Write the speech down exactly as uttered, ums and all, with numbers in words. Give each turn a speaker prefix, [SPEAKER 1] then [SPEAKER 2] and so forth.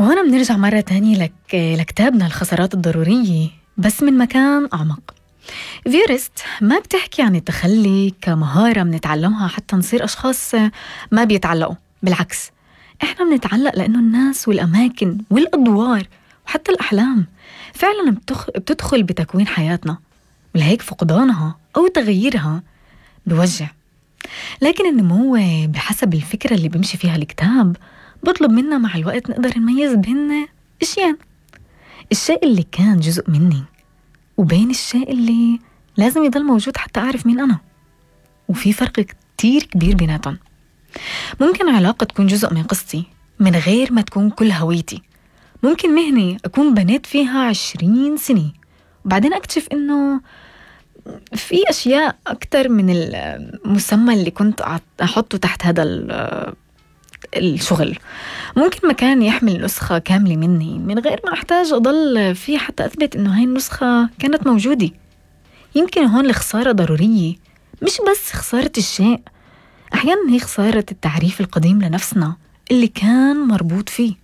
[SPEAKER 1] وهنا بنرجع مرة تانية لك لكتابنا الخسارات الضرورية بس من مكان أعمق. فيرست ما بتحكي عن التخلي كمهارة منتعلمها حتى نصير أشخاص ما بيتعلقوا، بالعكس إحنا بنتعلق لأنه الناس والأماكن والأدوار وحتى الأحلام فعلا بتخ... بتدخل بتكوين حياتنا، ولهيك فقدانها أو تغييرها بوجع. لكن النمو بحسب الفكرة اللي بيمشي فيها الكتاب بطلب منا مع الوقت نقدر نميز بين إشياء، الشيء اللي كان جزء مني وبين الشيء اللي لازم يضل موجود حتى أعرف مين أنا، وفي فرق كتير كبير بيناتهم. ممكن علاقة تكون جزء من قصتي من غير ما تكون كل هويتي، ممكن مهنة أكون بنيت فيها عشرين سنة وبعدين أكتشف إنه في أشياء أكتر من المسمى اللي كنت أحطه تحت هذا الشغل. ممكن مكان يحمل نسخة كاملة مني من غير ما أحتاج أضل فيه حتى أثبت إنه هاي النسخة كانت موجودة. يمكن هون الخسارة ضرورية، مش بس خسارة الشيء، أحيانا هي خسارة التعريف القديم لنفسنا اللي كان مربوط فيه.